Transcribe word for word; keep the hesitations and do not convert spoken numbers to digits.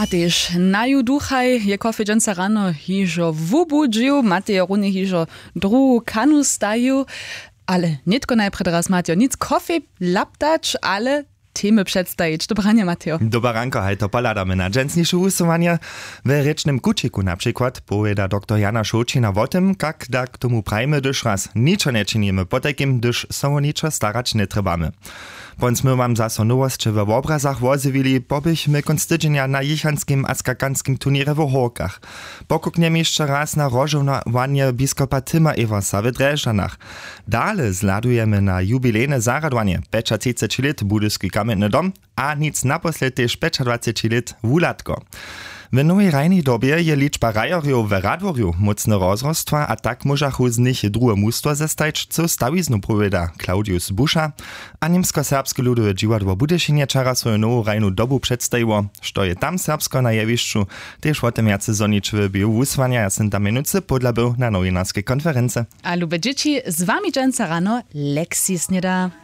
A tež naju duchaj je kofej dźensa rano hižo wubudźił, matej je runje hižo druhu kanu stajił. Ale nětko najprjedy raz matej nic kofej laptać, ale temy předstajić. Dobranje matejo. Dobaranko, haj to pohladamy na dźensniše wusyłanje. We rěčnym kućiku na přikład powěda doktor Jana Šołćina wo tym, kak da k tomu prajimy, hdyž raz ničo nječinimy, potajkim hdyž so wo ničo starać njetrjebamy. Pon smy wam zaso nowosće we wobrazach wozjewili, poběchmy kónc tydźenja na jěchanskim a skakanskim turněrje w Hórkach. Pokuknjemy hišće raz na rozžołowanje biskopa Tima Ewersa w Drježdźanach. Dale zhladujemy na jubilejne zarjadowanje, pjećatřiceći lět Budyski kamjentny dom, a nic naposled tež pjećadwaceći lět Wuhladko. W nowej hrajnej dobje je ličba hrajerjow w Radworju mócne rozrostła a tak móžachu z nich druhe mustwo zestajić, co stawiznu powěda Claudius Buscha. A Němskoserbske ludowe dźiwadło w Budyšinje wčera swoju nowu hrajnu dobu předstajiło. Što je tam serbsko na jewišću, tež wo tym wjace zhonić w běhu wusłanja. Ja sym tam mjenujcy pódla był na nowinarskej konferency. A lube dźěći, z wami dźensa rano Lexi sněda.